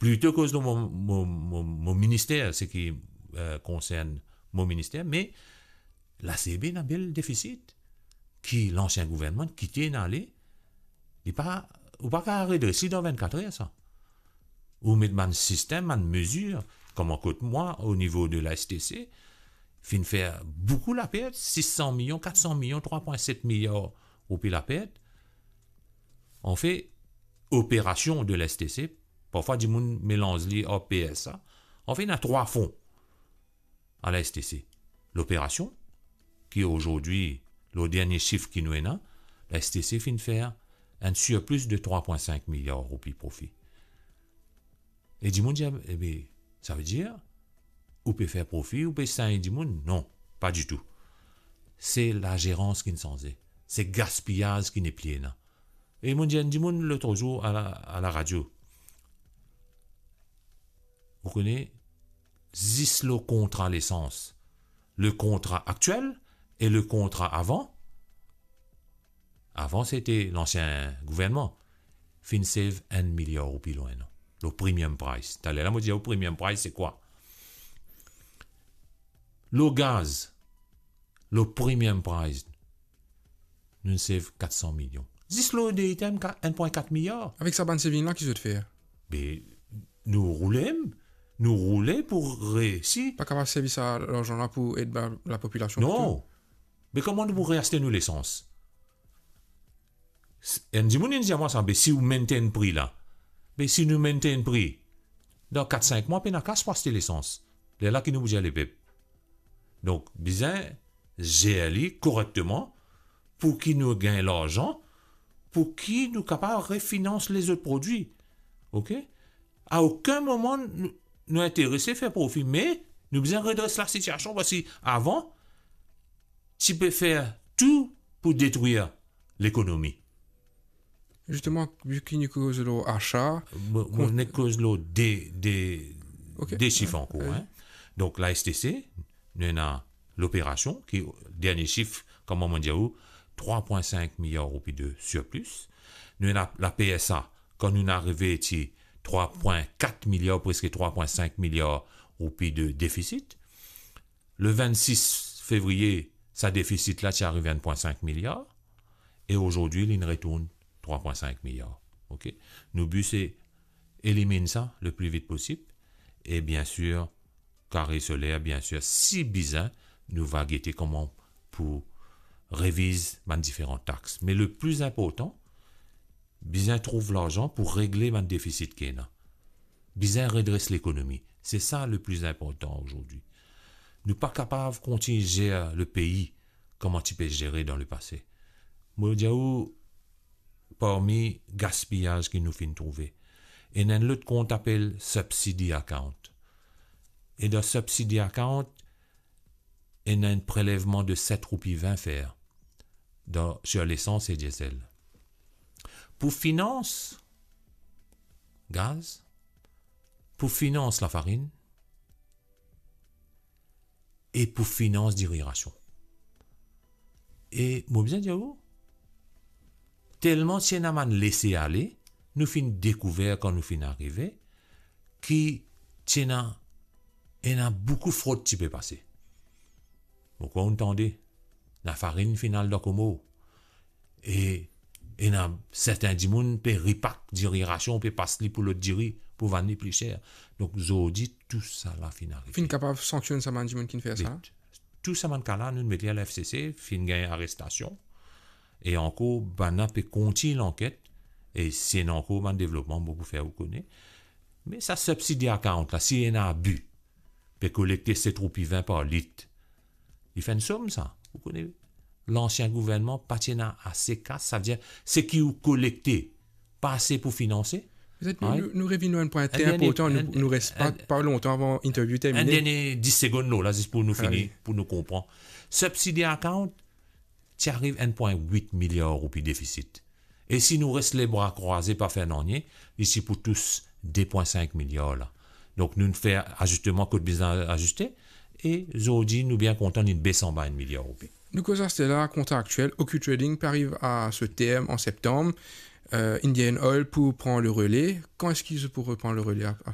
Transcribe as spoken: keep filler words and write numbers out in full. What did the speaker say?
Plito koz lor mo, mo, mo, mo minister, seki, eh, konsern mo minister, me la C B ena bel defisit ki lansien gouvernman kite ena ale, li pa, ou pa kapav redres li dan vennkat er sa. Ou met bann sistem, bann mezir, kouma kot mwa, o nivo de la S T C, finn fer boukou lapert, sis san milion, kat san milion, trwa pwin set miliar roupi lapert. Anfet, operasion de la S T C, parfwa dimoun melanz li ar P S A. Anfet, ena trwa fon a la S T C. Loperasion, ki azordi, lor dernie sif ki nou ena, la S T C finn fer enn sirplis de trwa pwin sink miliar roupi profi. E dimoun dir, ebe, savedir, ou pe fer profi, ou pe sign dimoun? Non, pa ditou. Se lazerans ki'nn sanze. Se gaspiyaz ki nepli ena. E mo dir enn dimoun lot zour a la, a la radio, ou kone, zis lor kontra lesans, le kontra aktiel e le kontra avan, avan sete lansien gouvernman, finn save enn miliar roupi lor enn an. Lor premium price. Taler la, mo dir ou premium price, se kwa? Lor gaz, lor premium price, nou save kat san milion. Zis lor de item, ka-, enn pwin kat miliar. Avek sa bann saving la, ki zot fer? Be, nou roule, nou roule pou reisi. Pa kapav servi sa larzan la pou ed la, lapopilasion plito? Non. Me kouma nou pou reaste nou lesans? S-, enn dimoun inn dir mwa sa, be si ou maintain pri la, be si nou maintain pri, dan kat sink mwa, pena kas pou aste lesans. Lerla ki nou pou dir lepep? Donk, bizin zer li korekteman pou ki nou gagn larzan, pou ki nou kapav refinans lezot prodwi. Ok? A okenn moman nou, nou interese fer profi, me nou bizin redres lasitiasion, parski avan, ti pe fer tou pou detrir lekonomi. Zisteman, vi ki nou koz lor asa, mo, mo nek koz lor de, de, ok, de sif ankor, hein. Donk, la S T C, nou ena loperasion ki, dernie sif, kouma mo dir ou, trwa pwin sink miliar roupi de sirplis. Nou ena la P S A, kan nou arive ti trwa pwin kat miliar, preske trwa pwin sink miliar roupi de defisit. Le vennsis fevriye, sa defisit la ti ariv enn pwin sink miliar, e azordi, li'nn retourn trwa pwin sink miliar. Ok? Nou bi se eliminn sa le pli vit posib, e biensir, kare soler, biensir, si bizin, nou va gete kouma pou reviz bann diferan tax. Me le pli inportan, bizin trouv larzan pou regle bann defisit ki ena. Bizin redres lekonomi. Se sa le pli inportan azordi. Nou pa kapav kontign zer le pei kouma ti pe zere dan lepase. Mo dir ou, parmi gaspiyaz ki nou finn trouve, ena enn lot kont apel subsidy account. E dan subsidy account, ena enn prelevman de set roupi vin fer dan, sir lesans e diesel. Pou finans gaz, pou finans lafarinn e pou finans diri rasion. E mo bizin dir ou, telman ti ena bann lese ale, nou finn dekouver kan nou finn arive, ki ti ena, ena boukou frod ti pe pase. Mo krwar ou'nn tande, lafarinn finn al dan Komor. E ena sertin dimoun pe ripak diri rasion, pe pas li pou lot diri, pou vann li pli ser. Donk, zordi, tou sa la finn arive. Finn kapav sanksionn sa bann dimoun ki finn fer sa? Tou sa bann ka la, nou met li a la F C C, finn gagn arestasion. E ankor, bann la pe kontign lanket, e si ena ankor bann devlopman, mo pou fer ou kone. Me sa subsidy account la, si ena abi, pe kolekte set roupi vin par lit, li fer enn som sa. Ou kone, lansien gouvernman pa ti ena ase kas, savedir, seki ou kolekte, pa ase pou finanse. Petet nou, nou, nou revinn lor enn pwin tre inportan, nou, nou res pa, pa lontan avan interview termine. Enn dernie dis segonn lor la, zis pou nou fini, pou nou konpran. Subsidy account, ti ariv enn pwin wit miliar roupi defisit. E si nou res lebra krwaze, pa fer nanye, li ti pou tous de pwin sink miliar la. Donk, nou fer azisteman kot bizin aziste, e zordi, nou bien kontan, li bes anba enn miliar roupi. Nou koz aster la, kontra aktiel, O Q Trading pe ariv a so term an septanm, euh, Indian Oil pou pran le rele. Kan eski zot pou repran le rele a, a